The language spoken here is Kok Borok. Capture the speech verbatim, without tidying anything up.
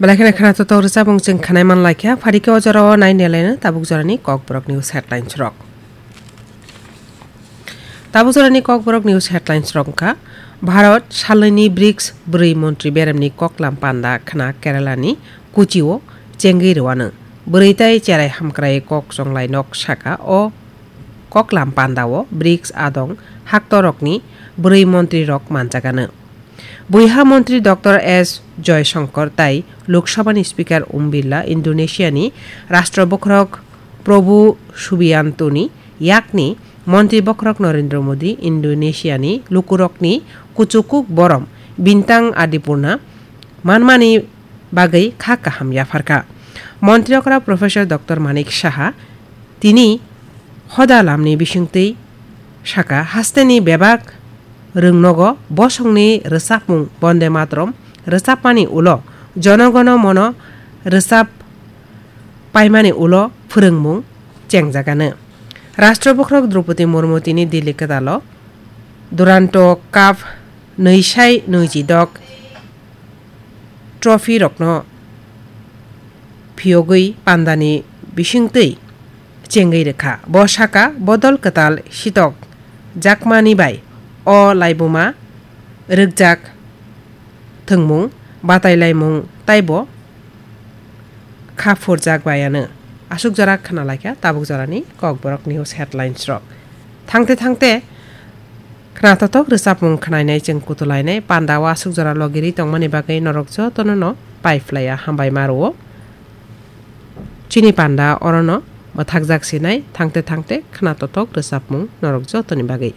Belai kheno khwnathok rwchapmung chwng khwnai man laikha, phari khe o jorao nai nelaino tabuk jorani Kokborok News headlines rok. Tabuk jorani Kokborok News headlines rok wngkha: Bharat salnwini brics bwrwi montri beremni koklam panda khwna Keralani Kochio chengwi rwano. Bwrwi tai cherai hamkrai kok chonglai nok saka o koklam pandao brics adong haktorokni bwrwi montrirok manjagano. Buiha montri Doctor S Joyshankar tai Lok Sabhani Speaker Om Birla Indonesiani Rashtra Bokhorok Prabowo Subiantoni yakni montri bokhorok Narendra Modi Indonesiani lukurokni kuchukuk borom bintang adipurna manmani bagwi kha kaham yapharkha. Montri okra Professor Doctor Manik Saha tini hoda lamni bisingtwi saka, hasteni bebak rwngnogo bosongni rwchapmung Bonde Mataram rwchapmani ulo Jono Gono Mono rwchap paimani ulo phwrwngmung chengjagano. Rashtra Bokhorok Droupadi Murmu tini Delhi kwtalo Duranto Cup nwi sai nwi ji dok trophy rokno phiyogwi pandani bisingtwi chengwi rwkha. Bo saka, bodol kwtal sitok jakmani bai o laibuma rwkjak thwngmung, batailaimung taibo kha phurjak baiano. Aswk jora khna laikha tabuk jorani Kokborok News headlines rok. Thangte thangte khnathokthok rwchapmung khnainai chwng kutulainai panda o aswk jora logirwi tongmani bagwi norok jotono no paiphlaiya hambai ma rwo. Chini panda orono mwthakjak sinai thangte thangte khnathokthok rwchapmung norok jotoni bagwi.